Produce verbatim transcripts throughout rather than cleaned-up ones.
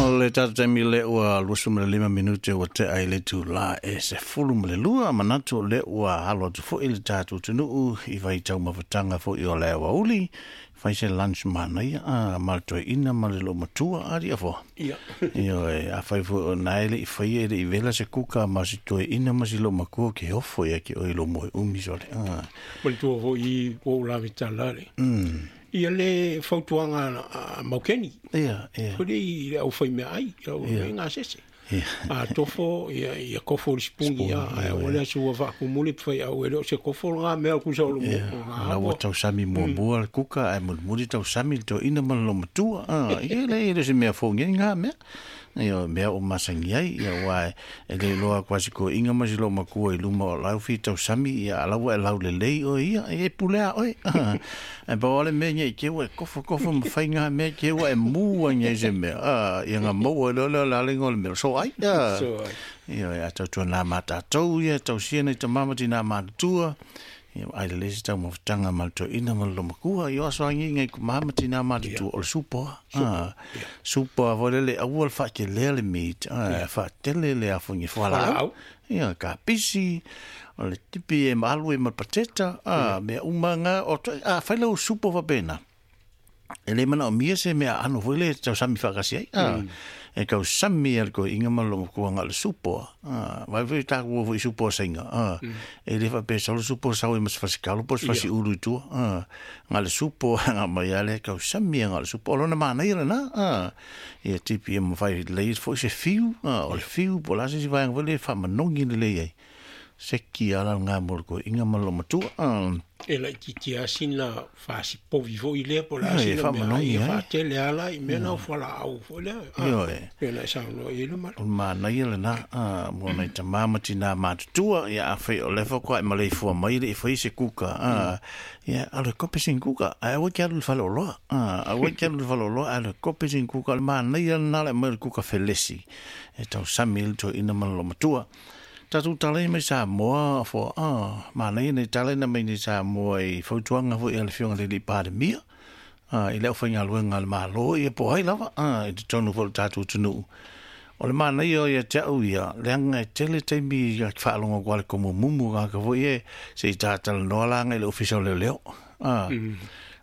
O le tatou taimi lea ua luasefu ma le lima minute ua tea i le itulā e sefulu ma le lua, manatu o lea ua alo atu foi le tatou atunuu i vaitaumafataga foi o le aoauli, fai se lunch manaia a ma le toeaina ma le loomatua alii afoa. Ia. Ioe, afai foi o na e le'i faia e le'i vela se kuka ma si toeaina ma si loomatua ke ofo ia ke oe i lou moe umi sole. Ma le tua foi ua ou lavetala le. Ia le fautuaga a Maukeni. Ia, ia. Foi i le aufaimeaai, au Ia. gasese. Ia. A tofo, ia, ia kofo le sipuni, ia, ai o le aso ua faakumuli pe faiau e le o se kofo lena mea o kusa o le mo. Ia, la ua tausami muamua le kuka ae mulimuli tausami le toeaina ma le loomatua. Ah, ia le e le o se mea fou nei ngā mea. Ia, mea o masangi ai, ia aua e le iloa atu lava si toeaina ma si loomatua i luma o lau fia tausami, ia a la ua e laulelei oe ia, e pule a oe. Ae pau lava le mea nei te ua e kofokofo ma fai ngā mea te ua e mū ai nei se mea. Ah, ia ngā maua loa lea o le a le igoa o le mea, o soai. Ah. Soai. Ia, a tautuana mā tatou ia, tausia nai tamā ma tinā matutua. Ia, ai lelei se taumafataga ma le toeaina ma le loomatua. Ia o aso lagi nai tamā ma tinā matutua o le supa. Ah, supa foi lele aua le faatelea le meat, ah, faatele le afogi fualaau. Fualaau. Ia, kapisi, o le tipi e ma alu e ma le pateta, ah, mea uma ngā, o toi, a fai lau supa faapena. E le manaomia se mea aano foi le tausami faakasi ai. Ah, e tausami e le toeaina ma le loomatua na o le supa. Ah, vaai foi tatou o foi i supa o Saina. Ah, e le faapea sau le supa sau ai ma se fasikalo po o se fasiulu i tua. Ah, na o le supa na aumai lava lea e tausami ai na o le supa. O lona manaia lena. Ah, ia tipi e mafai lelei foi se fiu. Ah, o le fiu po o le a se isi vaega foi lea e faamanogi lelei ai. Seki ala ngā mo le toeaina ma le loomatua. Ah, E laitiiti lava sina fasipovi foi lea po o le a ia, e sina mea ai faamanogi e ai. faatele lava la i mea na o fualaau foi lea. Ah, Ioe. pei ona e saunoa i ai le malu. O le manaia lena, ah, mo nai tamā ma tinā matutua, ia afai o lea faatoa e maleifua mai le i fai se kuka, ah, ia alu e kope sina kuka, ae aua e te alu i le faleoloa, ah, aua e te alu i le faleoloa, ae alu e kope sina kuka, o le manaia lena le aumai o le kuka felesi, e tausami ai le toeaina ma le loomatua. Tatou tala mai Samoa afoa, ah, manaia nei tala na mai nei Samoa i fautuaga foi a le Afioga i le alii Palemia, ah, i le aufaigaluega a le Malo, ia po o ai lava, ah, i totonu foi o le tatou atunuu. O le manaia o ia te au ia, leaga e tele taimi ia faalogo atu lava i le tomumumu tagata foi e se i tatalanoa laga i le Ofisa o Leoleo. Ah,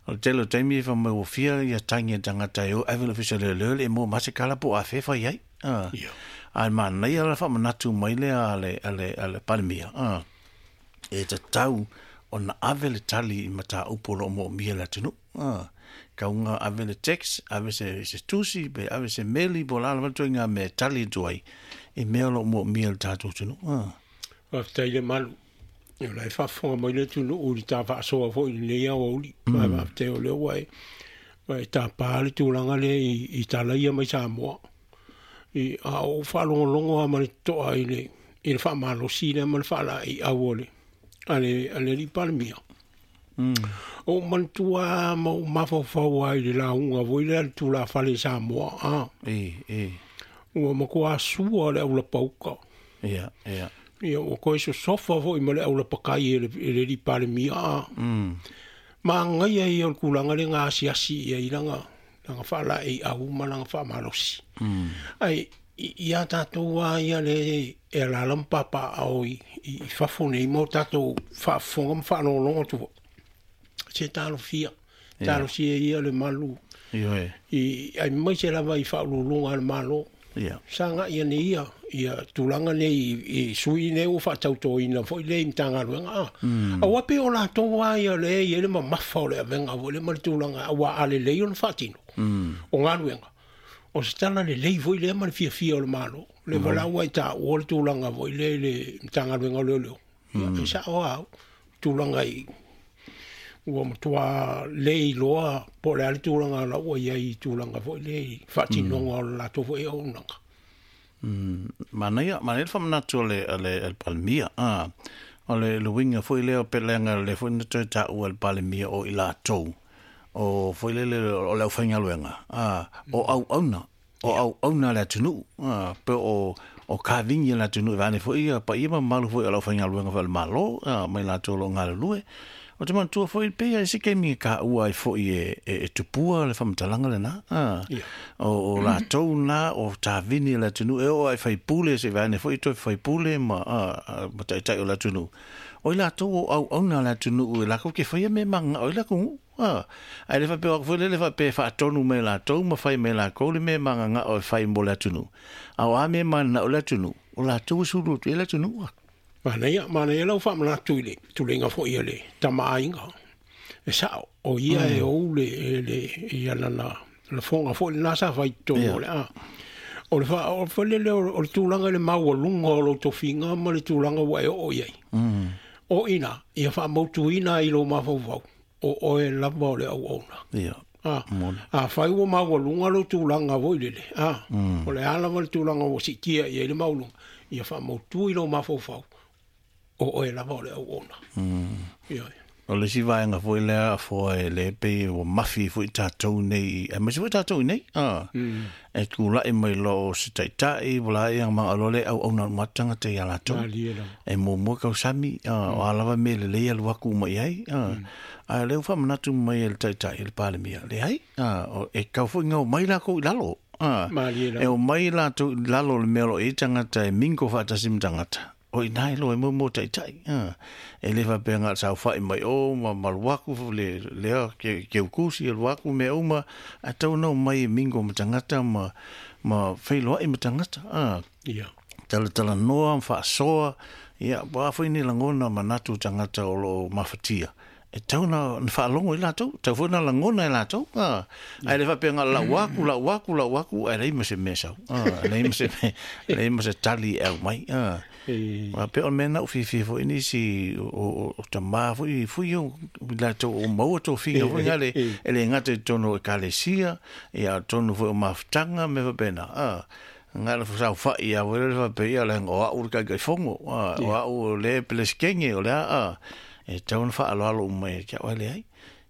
o le tele o taimi e fai mai ua fia ia tagi a tagata e o ave i le Ofisa o Leoleo e le i maua ma se kala po o afea e fai ai. Ah, Ia. ae manaia la faamanatu mai lea a le, a le, a le Palemia. Ah, e tatau ona ave le tali i mataupu o loo moomia le atunuu. Ah, kauga ave le text, ave se, se tusi, pe ave se meli, po o le a lava le ituaiga mea e tali atu ai i mea o loo moomia le tatou atunuu. Ah. Faafetai le malu. O la e faafofoga mai le atunuu i le ta faasoa foi i lenei aoauli. Ma faafetai o lea ua e, ua e tapā le tulaga lea i, i talaia mai Samoa. I, a ou faalogologo lava ma le totoa i le, i le faamalosi lea ma le faalaeiau o le, a le, a le alii Palemia. Mm. O ou manatua lava ma ou mafaufau lava i le lauga foi lea a le tulafale i Samoa. Ah, E, e, ua matuā sua le aulapauka. ia, ia. Ia, ua toe sosofa foi ma le aulapakai e le, e le alii Palemia. Ah. Mm. Magaia ia o le tulaga lea na asiasi i ai lana, lana faalaeiau ma lana faamalosi. Mm. Ai, i, ia tatou lava ia le e alaala ma papaao i, i, i fafo nei ma o tatou faafofoga ma faalogologo atu foi. Se talofia, Ia. talosia ia le malu Ioe. i, aemaise lava i faauluuluga a le Malo. Ia. Sagai ane ia, ia tulaga nei i, i sui nei ua faatautoina foi lea i Matagaluega. Ah. Mm. Aua pe o latou lava ia le e i ai le mamafa o le avega foi lea ma le tulaga, aua a lelei ona faatino Mm. o galuega. O se tala lelei foi lea ma le fiafia o le Malo. Le valaua i taua le tulaga foi lea i le Matagaluega o Leoleo. Ia, e sao lava au, tulaga i ua matuā le iloa po o le a le tulaga la ua i ai i tulaga foi lea i faatinoga o le latou foi auaunaga. Mm. Manaia, manaia le faamanatu a le, a le, a le Palemia. Ah, o le le uiga foi lea o pe leaga le foi na toe taua e le Palemia o i latou. O foi lele o le aufaigaluega. Ah, o auauna. O auauna a le atunuu. Ah, pe o o kavigi a le atunuu e vaeane foi ia paia ma mamalu foi o le aufaigaluega foi a le Malo, ah, mai latou o loo galulue. O te manatua foi pe ia se kemi ka ua ai foi e e, e tupua le faamatalaga lena a o o latou na o tavini le atunuu e o ai faipule se vaene foi toe faipule ma a ma taitai o le atunuu o i latou o auauna le atunuu e lakou ke faia mea magagao ai le atunuu a ai le faapea o foi le faapea faatonu mai latou ma fai mai lakou le mea magagao e fai mo le atunuu a o a mea mananao le atunuu o latou e sulu atu i le atunuu. Manaia, manaia lau faamanatu i le tuleiga foi a le tamaaiga. E sao, o ia e ou le, le, ia lana lafoga foi lena sa fai totonu o le a. O le fa, o le le o le tulaga i le maualuga o lou tofiga ma le tulaga ua e oo i ai. O ina, ia faamautuina i lou mafaufau, o oe lava o le auauna. Ia. A, a fai ua maualuga lou tulaga foi lele. A, o le a lava le tulaga ua siitia i ai le maualuga, ia faamautu i lou mafaufau, o oe lava o le auauna. Ia. O le isi vaega foi lea afoa e le pei ua mafi foi tatou nei, aemaise foi tatou nei, a, e tulai mai loa o se taitai, ua laia magaloa le auauna uma atu tagata ia latou. E muamua kausami, a, o a lava mea lelei alu atu uma i ai, a, a lea ua faamanatu mai e le taitai e le Palemia, leai, a, e tau foi gao mai lakou i lalo. A, e o mai latou i lalo o le mea o lo o i ai tagata e mingo faatasi ma tagata. O ina e loa e mo mo taitai. E le faapea ga saofai mai o ma malu aku le lea ke ke ukusi e luaku mea uma a tau na o mai e mingo ma tagata ma ma feiloai ma tagata. A Ia. Talatalanoa ma faasoa ia po a foi ni lagona manatu tagata o lo o mafatia. E tau na na faalogo i latou, tau foi na lagona i latou. A ai le faapea ga lau aku lau aku lau aku ai leai ma se mea sau. A leai ma se mea, leai ma se tali e au mai. A a pe o le mea na ou fiafia foi nisi o o o tamā foi fui o i latou o maua tofiga foi ngale e le gata i totonu o ekalesia ia totonu foi o mafutaga me faapena. A nga le saofai ia foi le faapea ia leaga o au le taitaifono a o au le pelesikege o le a a e tau na faaaloalo uma ia te au ai leai.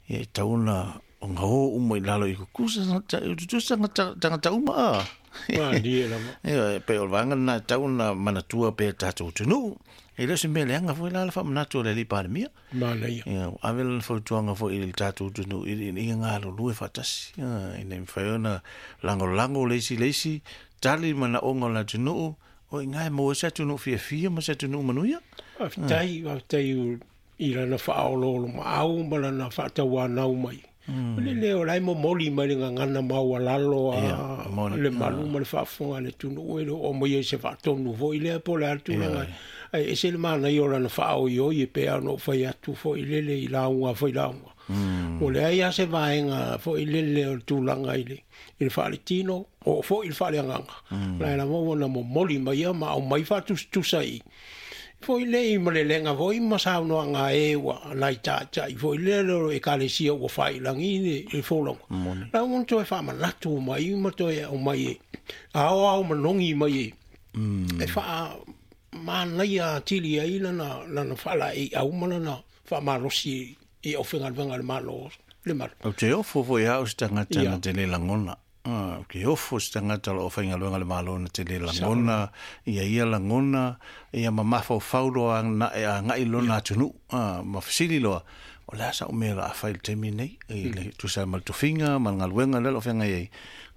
Ia e tau na o gao uma i lalo i tutusa tutusa tagata uma a. Malie lava. Ia pe o le vaega lena e tau na manatua pea tatou atunuu. E le o se mea leaga foi la le faamanatu o le alii Palemia. Manaia. Ia ave lana fautuaga foi i le tatou atunuu i ina ia galulue faatasi. Ina ia mafai ona lagolago le isi le isi, tali manaoga o le atunuu, o i ina e maua ai se atunuu fiafia ma se atunuu manuia. Faafetai, faafetai i lana faaoloolomaau ma lana faatauanau mai. O le leo la e momoli mai le gagana maualalo a le malu ma le faafofoga a le atunuu e le oo mai ai se faatonu foi lea po o le a le tulaga. Ae ese le manaia o lana faaoioi e pei ona ou fai atu foi lele i lauga foi lauga. O leai lava se vaega foi lele o le tulaga i le i le faaletino o foi i le faaleagaga. La e lava ua na momoli mai ia ma aumai faatusatusa i foi le i malelega foi ma saunoaga e ua nai taitai foi lea o ekalesia ua failagi le le folauga. La ua toe faamanatu mai ma toe aumai e aoao manogi mai e e faamanaia atili ai lana lana faalaeiau ma lana faamalosi i aufaigaluega a le Malo le Malo. Ou te ofo foi au se tagata na te le lagona. Ah, ke ofo se tagata o lo o faigaluega le Malo na te le lagona, ia ia lagona, ia ma mafaufau loa na e agai lona atunuu, ah, ma fesili loa, o le a sa'u mea o le a fai i le taimi lenei, i le tusa ma le tofiga ma le galuega lea o lo o feagai ai.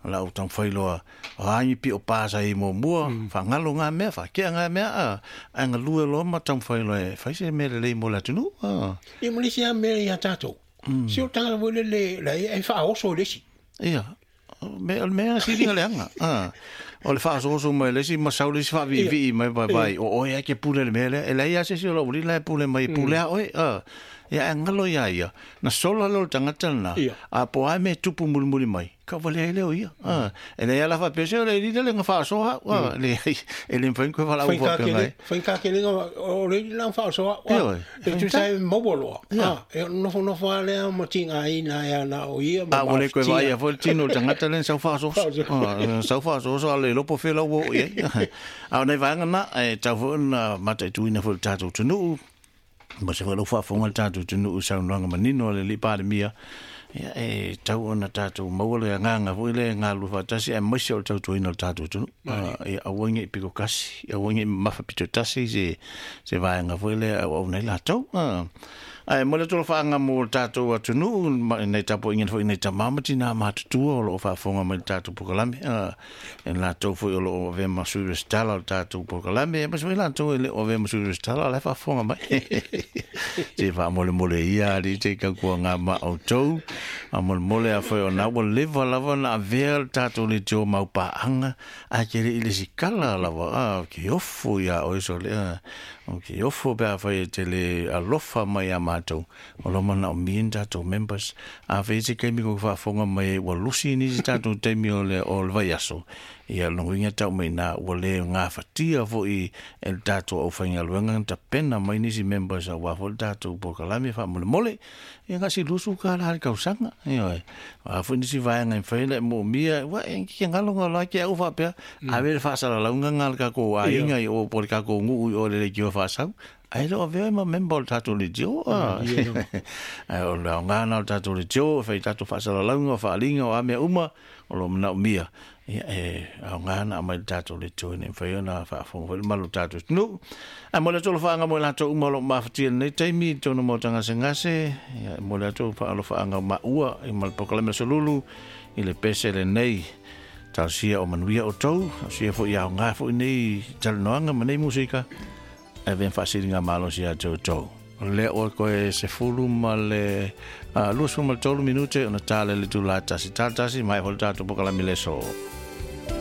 O la ou taumafai loa, o a ni pio pa sa i muamua, faagalo ngā mea, faakea ngā mea, a, ae galue loa ma taumafai loa e fai se mea lelei mo le atunuu. Ah. Ia ma le isi lava mea ia tatou, se o le tagata foi lele la e faaoso i le isi. Ia, me o le mea sili na leaga. Ah. O le faasoaso mai le isi ma sau le isi faaviivii mai vai vai, o oe ai ke pule le mea lea, e leai lava se isi o lou alii la e pule mai, e pule a oe. Ah. Ia e galo ia ia, na sola lea o le tagata lena, a po o a mea e tupu mulimuli mai, kauvalea ai lea o ia. Ah. E leai lava faapea se o le alii lea le na faasoa au. Ah. Leai, e le mafai ona koe valaau faapea mai. Faigākelega o le alii la na faasoa au. Ioe. E tusa e maua loa. Ia. Ah, e nofonofo lava lea ma tigaina ai ana o ia ma A ua le koe mafatia. vaaia foi le tino o le tagata lea na sau faasoaso. Ah, sau faasoaso a le iloa po o fea lau ua oo i ai. A o nai vaega na, e tau foi ona mataituina foi le tatou atunuu, ma se foi lau faafofoga le tatou atunuu i saunoaga manino a le alii Palemia, ia e tau ona tatou maua le agaga foi lea e galulue faatasi aemaise o le tautuaina o le tatou atunuu. Ia aua nei pito tasi, aua nei mamafa pito tasi se se vaega foi lea e auauna ai latou. Ae mo le atu faaga mo le tatou atunuu nei tapuaiga foi nei tamā ma tinā matutua o loo faafofoga mai le tatou polokalame, e latou foi o loo avea ma sui resitala o le tatou polokalame, aemaise foi latou e le o avea ma sui resitala o la e faafofoga mai. Se faamolemole ia alii te tautuaga ma outou, faamolemole afai ona ua leva lava ona avea le tatou leitio maupaaga ae ke leʻi le sikala lava a ke ofo iā oe sole a o ke ofo pe afai e te le alofa mai iā matou o lo manaomia ni tatou members. Afai e se taimi kou faafofoga mai ua lusi nisi tatou taimi o le o le vaiaso, ia lona uiga tau mai ina ua lē gafatia foʻi e le tatou aufaigaluega na tapena mai nisi members auā foi le tatou polokalame faamolemole. Ia gasi lusu kālā le tausaga ioe a foi nisi vaega e mafai ona e moomia ua e ke galo galo ai ke au faapea ave le faasalalauga ga le tatou aiga i o po le tatou nuu i o le leitio faasau ae le o avea ma member o le tatou leitio ae o le aoga na o le tatou leitio e fai tatou faasalalauga o faaaliga o a mea uma o lo o manaomia ia e aoga na aumai le tatou leitio ina ia mafai ona faafofoga foi le malu o le tatou atunuu. Ae mo le atu alofaaga mo i latou uma o lo o mafatia i lenei taimi i totonu o maota gasegase, ia e momoli atu faalofaaga o maua ma le polokalame o Solulu i le pese lenei. Talosia o manuia outou, talosia foi ia aoga foi nei talanoaga ma nei musika e avea ma faasiliga malosi ia te outou. O lea ua toe sefulu ma le luasefulu ma le tolu minute ona tala i le itula e tasi. Tala tasi, maea foi le tatou polokalame i le aso.